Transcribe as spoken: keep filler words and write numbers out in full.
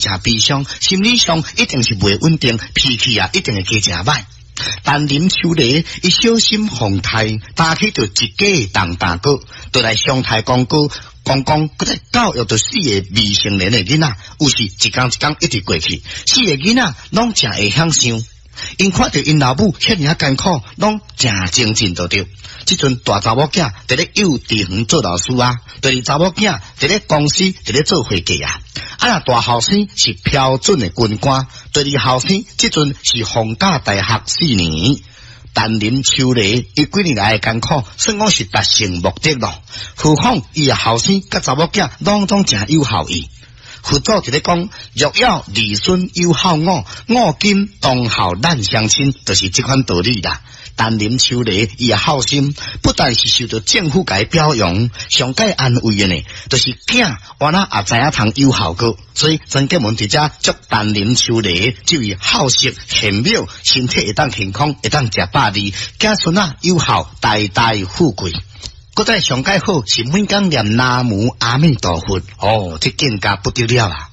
誠悲傷，心理上一定是袂穩定，脾氣啊一定會加誠䆀。陳林秋犁伊小心防態，擔起著一家當大哥，就來相刣公哥，公公閣再教育著四个未成年的囡仔，有時一工一工一直過去，四个囡仔攏誠會享受。𪜶看著𪜶老母遐爾仔艱苦，攏誠精進就對。這陣大查某囝佇咧幼稚園做老師啊，第二查某囝佇咧公司佇咧做會計啊。啊若大後生是標準的軍官，第二後生這陣是皇家大學四年。陳林秋犁伊幾年來的艱苦，算講是達成目的咯。何況伊的後生佮查某囝攏總誠有孝義。佛祖佇咧講，若要兒孫有孝我，我今當孝咱雙親，就是這款道理啦。陳林秋犁伊的孝心，不但是受到政府共伊表揚，上蓋安慰的呢，就是囝原來也知影通有孝過，所以曾建文佇遮祝陳林秋犁這位孝色賢妙，身體會當健康，會當食百二，子孫仔有孝，代代富貴。閣再上蓋好是每工念南無阿彌陀佛，哦，這境界不得了啊！